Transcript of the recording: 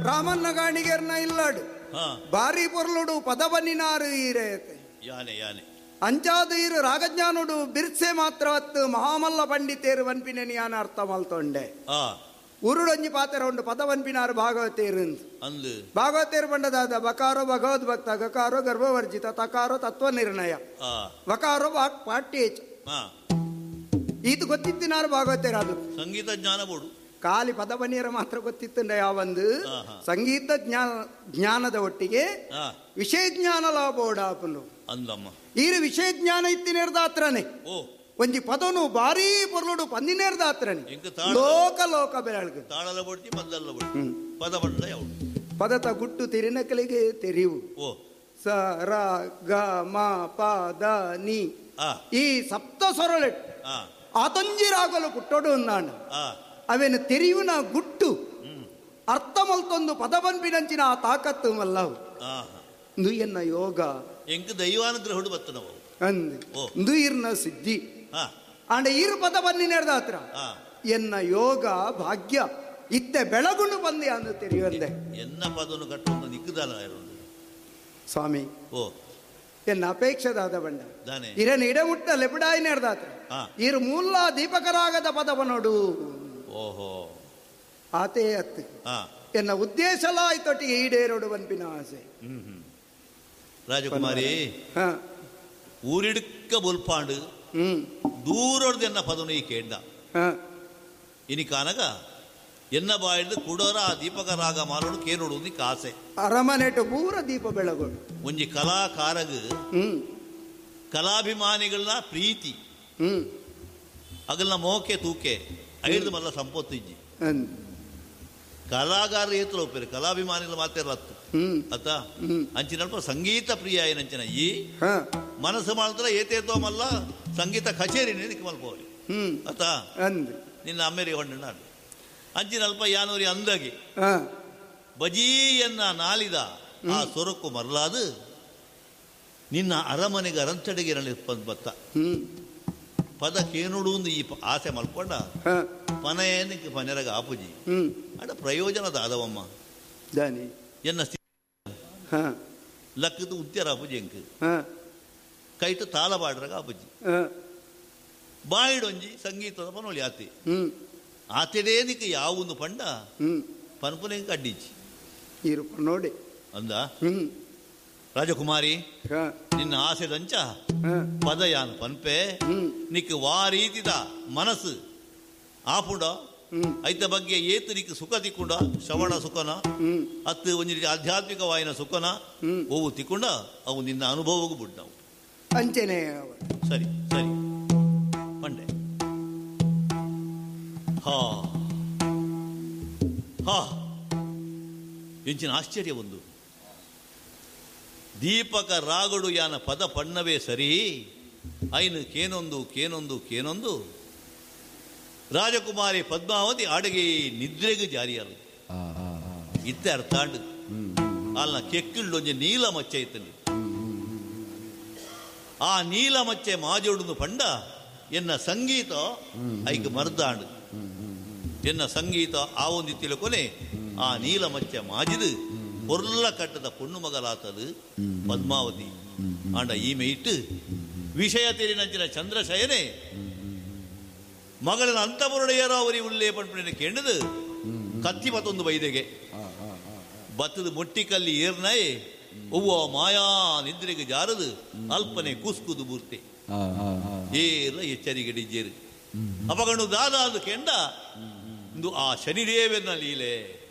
ರಾಮನ್ನ ಗಾಣಿಗೆರ್ನ ಇಲ್ಲಾಡು ಬಾರಿ ಪೊರ್ಲುಡು ಪದಬನ್ನಿನಾರು ಈರೆ ಯಾನೆ ಯಾನೆ ಅಂಚಾದ ಈರು ರಾಗಜ್ಞಾನುಡು ಬಿರ್ಸೆ ಮಾತ್ರ ಅತ್ತು ಮಹಾಮಲ್ಲ ಪಂಡಿತೇರು ವನ್ಪಿನ ಯಾನ ಅರ್ಥ ಮಲ್ತೊಂಡೆ. ಉರುಡೊಂಜಿ ಪಾತ್ರ ಉಂಡು ಪದವನ್ಪಿನಾರು ಭಾಗವತೇರು ಅಂದು ಭಾಗವತೇರು ಪಂಡದಾದ ಬಕಾರೋ ಭಗವದ್ಭಕ್ತ, ಗಕಾರೋ ಗರ್ಭವರ್ಜಿತ, ತಕಾರೋ ತತ್ವ ನಿರ್ಣಯ, ವಕಾರೋ ವಾಕ್ ಪಾಠ್ಯೇಚ. ಇದು ಗೊತ್ತಿತ್ತಿನಾರು ಭಾಗವತೇರು. ಅದು ಸಂಗೀತ ಜ್ಞಾನ ಬೋಡು ಖಾಲಿ ಪದವನಿಯರ ಮಾತ್ರ ಗೊತ್ತಿತ್ತಂಡ ಯಾವೊಂದು ಸಂಗೀತ ಜ್ಞಾನ ಜ್ಞಾನದ ಒಟ್ಟಿಗೆ ವಿಷಯ ಜ್ಞಾನ ಲಾಭೋಡಾಪನು ಅಂದಮ್ಮ. ಈರು ವಿಷಯ ಜ್ಞಾನ ಇತ್ತಿನೇರ್ದಾತ್ರನೇ ಒಂಜಿ ಪದನು ಭಾರೀ ಪೊರ್ಲುಡು ಪಂದಿನೇರ್ದಾತ್ರನೆ ಲೋಕ ಲೋಕ ಬೆಳಗ ತಾಳಲ ಬೊಡ್ತಿ ಪದಲ್ಲ ಬೊಡ್ತಿ ಪದ ಬಂಡ ಯಾವುದು ಪದತ ಗುಟ್ಟು ತೆರಿನಕಲಿಗೆ ತೆರಿವು. ಸ ರ ಗ ಮ ಪ the ನಿ ಈ ಸಪ್ತ ಸೊರಳೆಟ್ ಆತೊಂಜಿ ರಾಗಲು ಪುಟ್ಟೋಡು ಅಂದಾಂಡ ಅವೇನು ತೆರಿಯುನ ಗುಟ್ಟು ಅರ್ಥ ಮಲ್ತೊಂದು ಪದ ಬನ್ಪಿನಂಚಿನ ಆ ತಾಕತ್ತು ಮಲ್ಲವು ಎನ್ನ ಯೋಗ ಎಂಕ್ ದೈವಾನುಗ್ರಹುಡು ಬತ್ತನವು ಅಂದು ಇರ್ನ ಸಿದ್ಧಿ ಆಂಡ ಈರು ಪದ ಬನ್ನಿ ಹತ್ರ ಎನ್ನ ಯೋಗ ಭಾಗ್ಯ ಇತ್ತೆ ಬೆಳಗುಂಡು ಬಂದೆ ಅಂದು ತೆರೆಯುವಂದೆ ಎನ್ನ ಪದವನ್ನು ಕಟ್ಟೊಂದು ನಿಕ್ಕುದಲ್ಲ ಸ್ವಾಮಿ. ಎನ್ನ ಅಪೇಕ್ಷೆದಾದ ಬಂಡ ಇರನ ಇಡಮುಟ್ಟ ಲೆಪಡಾಯಿ ನೇರ್ದಾತ್ರ ಇರು ಮೂಲ ದೀಪಕರಾಗದ ಪದವನೋಡು. ಓಹೋ ಆತೇ ಅತ್ತು ಎನ್ನ ಉದ್ದೇಶಲ ಆಯ್ತೊಟ್ಟಿಗೆ ಈಡೇರೋಡು ಬನ್ಪಿನ ಆಸೆ. ರಾಜಕುಮಾರಿ ಊರಿಡ್ಕ ಬೊಲ್ಪಾಂಡು ದೂರೊಡ್ದು ಎನ್ನ ಪದನು ಈ ಕೇಂಡ ಇನಿ ಕಾನಗ ಎನ್ನ ಬಾಯಿಡ್ದು ಕುಡೋರ ಆ ದೀಪಕ ರಾಗ ಮಾಲೋಡು ಕೇನೋಡು ನಿಕ್ಕ ಆಸೆ. ಅರಮನೆಟು ಪೂರ ದೀಪ ಬೆಳಗೋಡು ಒಂಜಿ ಕಲಾಕಾರಗ ಕಲಾಭಿಮಾನಿಗಳನ್ನ ಪ್ರೀತಿ ಅಗಲ್ನ ಮೋಕೆ ತೂಕೆ ಐದು ಮಲ್ಲ ಸಂಪತ್ತು ಇಜ್ಜಿ. ಕಲಾಗಾರ ಏತ್ರ ಒಪ್ಪೇರು ಕಲಾಭಿಮಾನಿಗಳು ಮಾತೇರತ್ತು ಅತ್ತ ಅಂಚಿನಲ್ಪ ಸಂಗೀತ ಪ್ರಿಯ ಏನಂಚಿನ ಈ ಮನಸ್ಸು ಮಾಡಿದ್ರೆ ಏತೇತೋ ಮಲ್ಲ ಸಂಗೀತ ಕಚೇರಿ ನಿಕ್ಕ ಮಲ್ಪೋಲಿ ಅತ್ತ ನಿನ್ನ ಅಮ್ಮೇರಿ ಹೊಂಡ ಅಂಚಿನಲ್ಪ ಯಾನೂರಿ ಅಂದಾಗಿ ಬಜೀಯನ್ನ ನಾಲಿದ ಆ ಸೊರಕು ಮರಲಾದು ನಿನ್ನ ಅರಮನೆಗೆ ಅರಂತಡೆಗೆ ಬತ್ತ ಪದ ಕೇನುಡು ಈ ಆಸೆ ಮಲ್ಕೊಂಡ ಪನೆಯನಿಗೆ ಪನೆರಗ ಆಪುಜಿ ಅಡ ಪ್ರಯೋಜನದ ಆದವಮ್ಮ ಎನ್ನ ಲಕ್ಕದ ಉತ್ತರ ಆಪುಜಿ ಎಂಕ್ ಕೈಟು ತಾಳ ಬಾಡ್ರಗ ಆಪುಜಿ ಬಾಯಿಡೊಂಜಿ ಸಂಗೀತದ ಪನೊಳಿ ಆತಿ ಆತೆಡೇ ನಿಕ್ಕ ಯಾವೊಂದು ಪಂಡ ಪನ್ಪುನೆ ಅಡ್ಡಿಜಿ ನೋಡಿ ಅಂದ ರಾಜಕುಮಾರಿ ನಿನ್ನ ಆಸೆ ದಂಚ ಪದಯಾನ ಪನ್ಪೆ ನಿಕ್ ವಾ ರೀತಿದ ಮನಸ್ಸು ಆಪುಂಡ ಐತ ಬಗ್ಗೆ ಏತು ನಿಕ್ ಸುಖ ತಿಕ್ಕೊಂಡ ಶ್ರವಣ ಸುಖನ ಅತ್ತು ಒಂಜಿ ರೀತಿ ಆಧ್ಯಾತ್ಮಿಕವಾಯಿನ ಸುಖನ ಓವು ತಿಕ್ಕೊಂಡ ಅವು ನಿನ್ನ ಅನುಭವಕ್ಕೂ ಬಿಡ್ನವು ಅಂಚೆನೆ. ಸರಿ ಸರಿ ಪಂಡೆ. ಹಾ ಹಾ ಎಂಚಿನ ಆಶ್ಚರ್ಯ ಒಂದು ದೀಪಕ ರಾಗಡು ಯಾನ ಪದ ಪಣ್ಣವೇ ಸರಿ ಐನು ಕೇನೊಂದು ಕೇನೊಂದು ಕೇನೊಂದು ರಾಜಕುಮಾರಿ ಪದ್ಮಾವತಿ ಅಡಗೆ ನಿದ್ರೆಗೆ ಜಾರಿಯಲ್ಲ ಇತ್ತೆ ಅರ್ಥಾಂಡು ಅಲ್ಲ ಕೆಕ್ಕಿಳ್ಳೊಂಜಿ ನೀಲ ಮಚ್ಚೆ ಇತ್ತಂడి ಆ ನೀಲ ಮಚ್ಚೆ ಮಾಜೋಡುಂದು ಪಂಡ ಎನ್ನ ಸಂಗೀತ ಐಕ್ ಮರ್ದಾಂಡು ಎನ್ನ ಸಂಗೀತ ಆ ಒಂದು ತಿಳ್ಕೊನೆ ಆ ನೀಲ ಮಚ್ಚೆ ಮಾಜಿದು பொருள கட்டத பொண்ணு மகளாத்தது ಪದ್ಮಾವತಿ ಆಂಡ ಈಮೆ ಇಟ್ಟು ವಿಷಯ ತೆರಿನಂಚಿನ ಚಂದ್ರಶಯನೆ ಮಗಳನ ಅಂತಪುರಡೆಯರ ಅವರಿ ಉಳ್ಳೇ ಪಂಪಿನ ಕೆಂಡದು ಕತ್ತಿ ಮತ್ತೊಂದು ಬೈದೆಗೆ ಬತ್ತದ ಮೊಟ್ಟಿಕಲ್ಲಿ ಏರ್ನಾಯಿ ಒವ್ವ ಮಾಯಾ ನಿದ್ರೆಗೆ ಜಾರದು ಅಲ್ಪನೆ ಕುಸ್ಕುದು ಬೂರ್ತೆ ಏರ್ಲ ಎಚ್ಚರಿಕೆ ಡಿಜ್ಜೇರು ಅಪಗಣು ದಾದ ಅದು ಕೆಂಡ ಇಂದು ಆ ಶನಿದೇವನ ಲೀಲೆ.